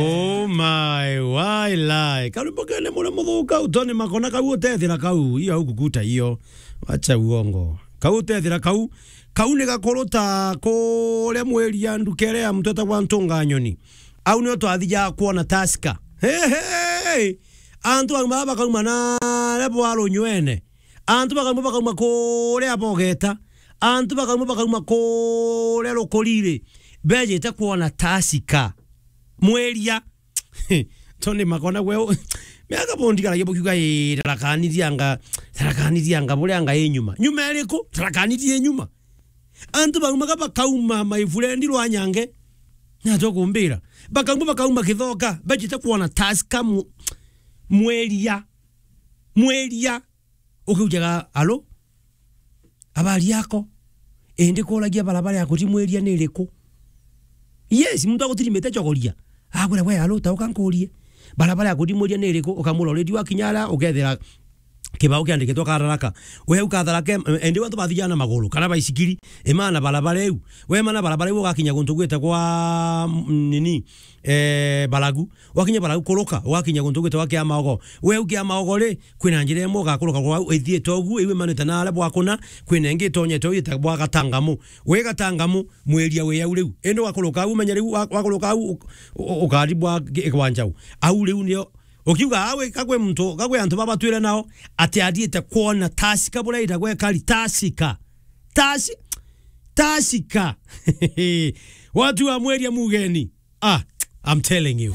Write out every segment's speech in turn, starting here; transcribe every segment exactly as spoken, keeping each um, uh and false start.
Oh my, why lie? Kau ni mukene muria muthuka, utoni makona kau utethira kau, iyo au kukuta iyo. Acha uongo. Kau utethira kau, kau ni gakuru ta kuria mwiria ndukere ya muntu etagwa Ntunga Nyoni. Au nio twathijaga kwona Tusker. Hey, hey! Antu bau baba bakauma na rebo arunywene. Antu bakauma, bakauma kuria Bogeta. Antu bakauma, bakauma kuria Rukuriri. Bejite kwona Tusker. Mwiria. Toni makona gwe. Miaka bondi karagia bukiuga, "Ii, Tharaka Nithi anga, Tharaka Nithi anga, buria anga i nyuma." Nyuma iriku? Tharaka Nithi i nyuma. Antu baumaga bakauma, my friend, rwa nyange. Na tukumbira. Bakauma, bakauma Kithoka. Bejite kwona Tusker mu-, mwiria. Mwiria. Ukiujaga, "Alo? Habari yako? Indi kuragia barabara ya kuthi mwiria ni iriku?" Yes, muntu agutirimite chogoria. Akwira, "We, alo, tauka nkurie. Barabara ya kuthi mwiria ni iriku?" Ukamura already wakinya ara, ukethira kibao kiandikitwe Katharaka. We u Katharaka, em, indi antu bathijana na maguru, kana baisikiri, imana barabara iu. We mana barabara iu ugakinya guntu gwite kwa, mm, nini, eh, Baragu. Wakinya Baragu kuruka, ugakinya guntu gwitagwa Kiamaogo. We u Kiamaogo ri, kwina njira imwe ugakuruka kwa au ithiite ugu, iu imanite na aria bwakuna, kwina ingi itonyete u ita bwa Gatangamu. We Gatangamu, mwiria wi au riu. Indi wakuruka au, umenye riu, wa-, wakuruka au, u-, u-, ukari bwa ki-, kwanjau. Au riu nio, ukiuga awe, kakwe muntu, kakwe antu baba twire nao, ati athiite kwona Tusker buria itagwa ikari, Tusker. Tusker. Tusker. Watu wa mwiria mugeni. Ah, I'm telling you.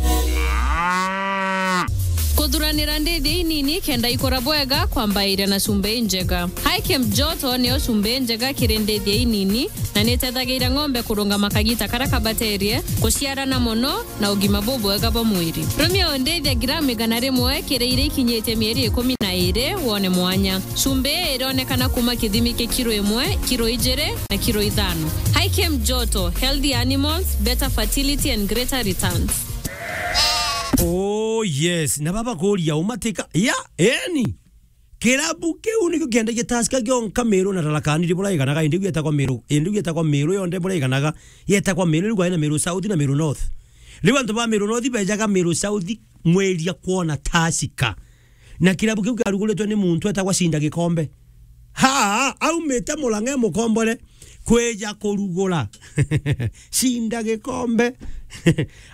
Kuthuranira ndithia inini kenda ikura bwega kwambairia na cumbi injega. Hikem Joto niyo cumbi injega kiri ndithia inini na nitethagiria ng'ombe kurungama kagita karia kabaterie, kuciarana mono na ugima bubwega bwa mwiri. Rumia undithia gramu igana rimwe kiri iria ikinyitie mieri ikumi na iri wone mwanya. Cumbi ii ironekana kuuma kithimi kia kiro imwe, kiro ijiri na kiro ithano. Hikem Joto, healthy animals, better fertility and greater returns. Oh yes, na baba kuria umatika. Ya, eni. Kirabu kiu nikio kiendagia Tusker kionka Meru na Tharaka Nithi buria iganaga, indi iu yetagwa Meru, indi iu yetagwa Meru yonthe buria iganaga, yetagwa Meru, riu kwina Meru South na Meru North. Riu antu ba Meru North bejaga Meru South mwiria kwona Tusker. Na kirabu kiu kiaruguritwe ni muntu etagwa Cinda Gikombe. Ha, aumite Murang'a e mukombore kwija kurugura. Cinda Gikombe.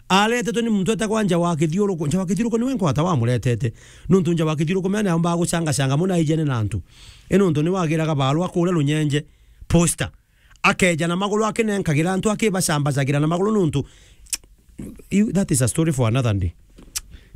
Aretetwe ni muntu etagwa Nja wa Kithiuruku. Nja wa Kithiuruku niwe nkwata wamuretete. Nuntu Nja wa Kithiuruku mena aumbaga gucangacanga mono aijene na antu. I nuntu niwe agiraga barua kuria Runyenje, posta. Akeja na maguru akinenkagira antu, akibacambacagira na maguru nuntu, you, that is a story for another day.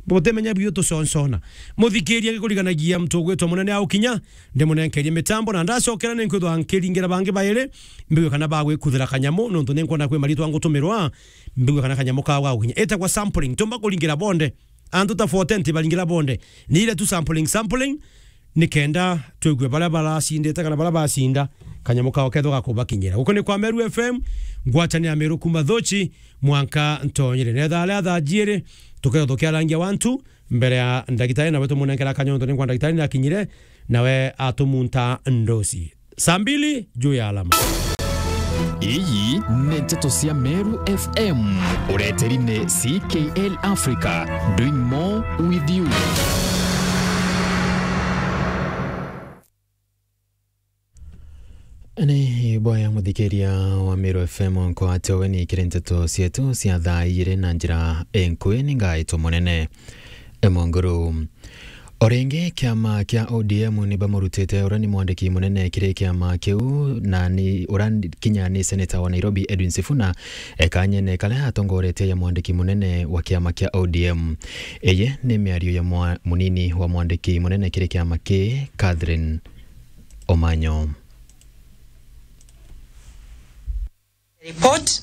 Butimenya biu tuconcona. Muthikiria, ngikuriganagia muntu ugwitwa munene aukinya, ndimunenkerie mitambo na ndacokera ninkwithwa nkiringira bangi bairi, mbigue kana bagwikuthira kanyamu, nuntu ninkwona kwi maritwa ngutumirwa, mbigue kana kanyamu kao gagukinya. Itagwa sampling, tumba kuringira bonde. Antu ta forty ntibaringira bonde. Ni ile tu sampling, sampling, nikenda twigue baria baracindite kana baria bacinda, kanyamu kao kethwa gakubakinyira. Guku ni kwa Meru F M, ngwataniro ya Meru kuma Thochi mwanka Ntonyere. Netha aria thaa jiiri, tukethwa tukiarangia wantu mbere ya ndagitari, nawe tumunenkera kanya nontu ni kwa ndagitari nakinyire, nawe atumunta ndosi. Saa mbili juu ya alama. Iyi ni nteto cia Meru F M. Ureteri ni C K L Africa, doing more with you. Ni bwega muthikiria wa Meru F M nkwate ugeni kiri nteto cietu cia thaa igiri na njira inkui ni ngaitwa munene. Emonguru. O ringi, kiama kia O D M ni bamurutite uria ni mwandiki munene kiri kiama kiu, na ni uria kinya ni seneta wa Nairobi Edwin Sifuna, ekanyene karia atongoretie ya mwandiki munene wa kiama kia O D M. Iyi ni miario ya mwa-, munini wa mwandiki munene kiri kiama ki, Catherine Omanyo. Report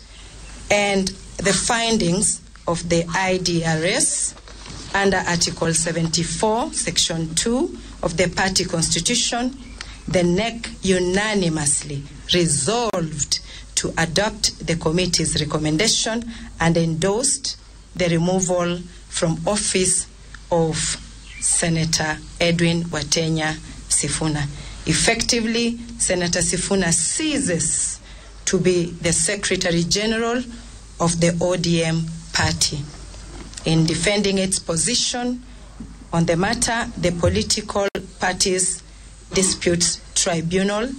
and the findings of the I D R S under Article seventy-four, Section two of the party constitution, the NEC unanimously resolved to adopt the committee's recommendation and endorsed the removal from office of Senator Edwin Watenya Sifuna. Effectively, Senator Sifuna ceases to be the Secretary General of the O D M party. In defending its position on the matter, the Political Parties Disputes Tribunal,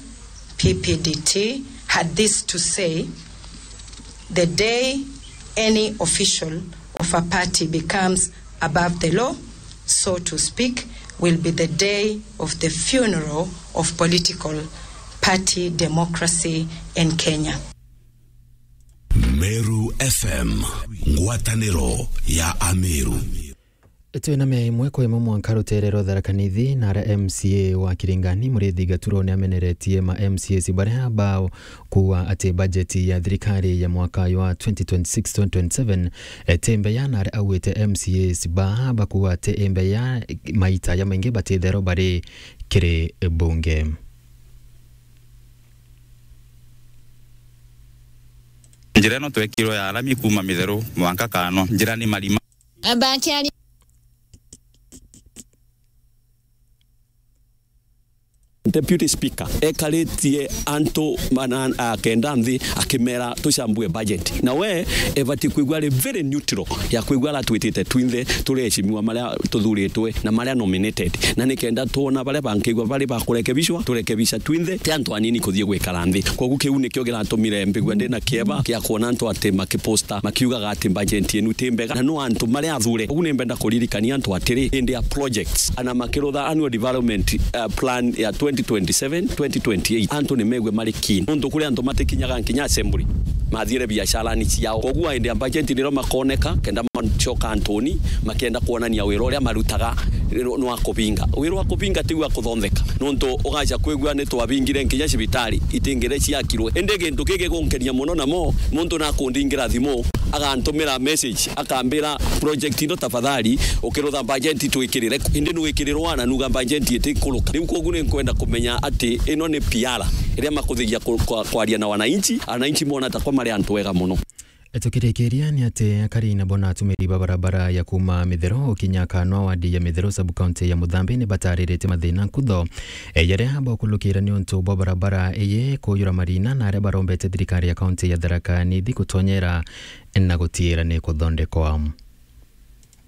P P D T, had this to say: "The day any official of a party becomes above the law, so to speak, will be the day of the funeral of political party democracy in Kenya." Meru F M, ngwatanĩro ya Ameru. Twina mea imwe kwa imwe mwanka rutere rwa Tharaka Nithi, na ara M C A wa Kiringani, Muriithi Gaturo, ni ameneretie ma M C As baria bao kuuga ati bajeti ya thirikari ya mwaka wa twenty twenty-six twenty twenty-seven, eh, ti mbeya, na aria augite M C As baa bakuuga ati i mbeya, maita jamaingi batithero bari kiri bunge. Njira ino twekirwe ya rami kuuma Mitheru mwanka Kano, njira ni marima. Bakiari. Deputy Speaker ekaritie antu mana-, a, kenda nthi akimera tucambue budget. Na we ebati kwigua ari very neutral ya kwigua aratwitite twinthe turi ecimiwa maria tuthuritwe na maria nominated. Na ni kenda twona baria bankigua bari ba kurekebishwa, turekebisha twinthe, ti antu anini kuthii gwikara nthi. Koguo kiu nikio kiratumire mbigua ndina kieba kia kwona antu ati makiposta makiugaga ati budget yenu ti mbega, na no antu maria athure. Koguo ni mbenda kuririkania antu atiri, indi ya projects, ana makirutha annual development, uh, plan ya twenty twenty-seven, twenty twenty-eight, antu ni megue mari keen. Nontu kuri antu matikinyaga nkinya assembly, mathiire biasharani ciao. Koguo indi ya budget nirio makoneka, kenda macoka antuni, makienda kuonania wira uria marutaga ni, ni wa kubinga. Wira wa kubinga ti wa kuthontheka. Nontu ugaca kwigua ni twabingire nkinya cibitari, itingire ciakirwe. Indi gintu gigi gunkenia muno namo, muntu nakundingira thimu, agantumira message, akambira, "Project ino tafadhali, ukirutha budget twikirire." Indi nwikirirwa na nuga budget itikuruka. Riu koguo ni nkwenda kumenya ati ino ni P R, iria makuthiria ku-, kwa-, kwaria na wananchi, wananchi mona ta kwa mari antu ega muno. Tukirikiria ni ati akari nabo na atumiri ba barabara ya kuuma Mitheru ukinya Kanwa wadi ya Mitheru sub-county ya Muthambi ni bataririte mathina nkutho, e, jaria bakulukira ni untu bwa barabara iyi kuyura marina, na aria barombete thirikari ya kaunti ya Tharaka Nithi gutonyera na gutiira ni kuthondekwa.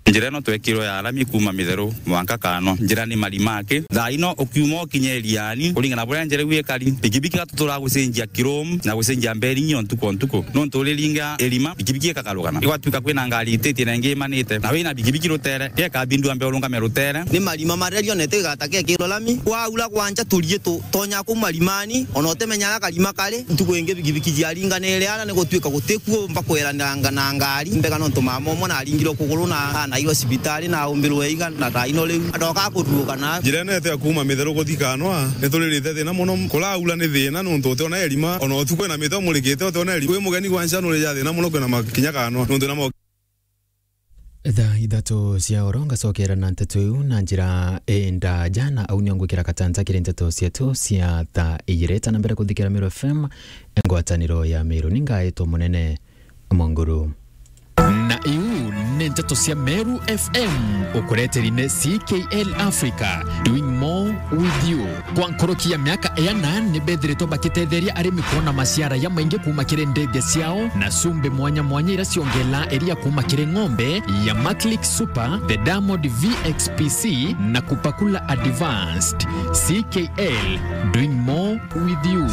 Njira ino twekirwe ya rami kuuma Mitheru mwanka Kano, njira ni marima aki. Thaa ino ukiuma ukinye Iriani, kuringana na buria njira iu ikari, pikipiki igatutura gucenjia Kirum na gucenjia Mberingi o ntuku o ntuku. Nontu uriringa irima, pikipiki ikagarukana. Igwatuika kwina ngari ititie na ingi imanite, na wina pikipiki rutere, gekabindua mbe urungame rutere. Ni marima maria rionete igata gekirwe rami. Kwaura gwanja turie tu, tonya kuu marimani, ona utimenya aria karima kari. Ntuku ingi pikipiki ciaringanire ana ni gutuika gutikuo mba kweraniranga na ngari mbega nontu mama umwe naringirwe kuguru na anairwe cibitari na aumbirwe iga na thaa ino riu adoka kuruuka na. Njira ino yetu ya kuuma Mitheru guthi Kanwa, ni turirite thina muno. Kuraura ni thina nontu utiona irima, ona utuku ina miti umurikite utiona irima. Wi mugeni gwa ncha nurija thina muno kwina makinya Kanwa nontu na mo- Thaa ithatu cia oro ngacokera na nteto iu na njira indaja, na au nio ngwikira katanta kiri nteto cietu cia thaa ijiri. Tana mbere kuthikira Meru F M, ngwataniro ya Meru, ni ngaitwo munene Monguru. Na iu ni nteto cia Meru F M, ukureteri ni C K L Africa, doing more with you. Kwa nkuruki ya miaka iana, ni bethiritwe bakitetheria arimi kwona maciara jamaingi kuuma kiri ndege ciao na cumbi mwanya mwanya iria ciongelaa iria kuuma kiri ng'ombe ya Maclick Super, the Diamond V X P C na Kupakula Advanced. C K L, doing more with you.